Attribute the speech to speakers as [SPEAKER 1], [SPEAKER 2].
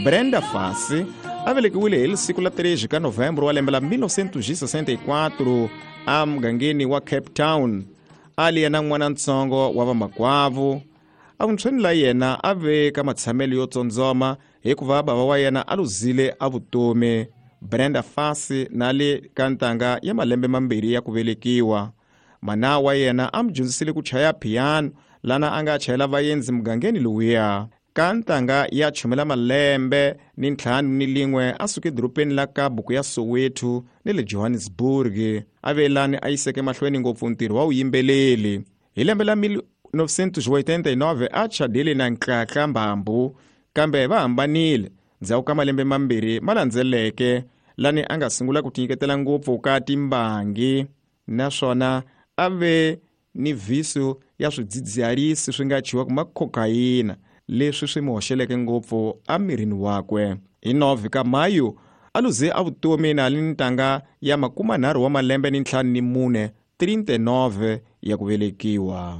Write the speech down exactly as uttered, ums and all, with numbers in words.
[SPEAKER 1] Brenda Fassie a velekiwile hi siku la treze ka Novembro wa lembe la mil novecentos e sessenta e quatro emugangeni wa Cape Town. A li yena n'wanantsongo wa vamakwavo. Evuntshweni la yena a ve ka matshamelo yo tsondzoma hikuva bava wa yena a luzile a vutomi. Brenda Fassie na le ka ntanga ya malembe mambirhi ya ku velekiwa. Mana wa yena a mu dyondzisile ku chaya piano lana a nga chayela vaendzi mugangeni lowuya. Ka ntanga ya chumela malembe ni ntlhanu ni lin'we a suke edorobeni la ka buku ya Soweto ni le Johannesburg. A ve lani a yiseke mahlweni ngopfu ntirho wa vuyimbeleri. Hi lembe la mil novecentos e oitenta e nove a chadile na Nhlanhla Mbambu, kambe va hambanile ndzhaku ka malembe mambirhi ma landzeleke lani a nga sungula ku tinyiketela ngopfu ka timbangi, naswona a ve ni visu ya swidzidziharisi swi nga chiwaka ma cocaine leswi swi mu hoxeleke ngopfu emirini wakwe. Hi nove ka Mayu a luze a vutomi na li ntanga ya makumanharhu wa malembe ni ntlhanu ni mune, trinta e nove ya ku velekiwa.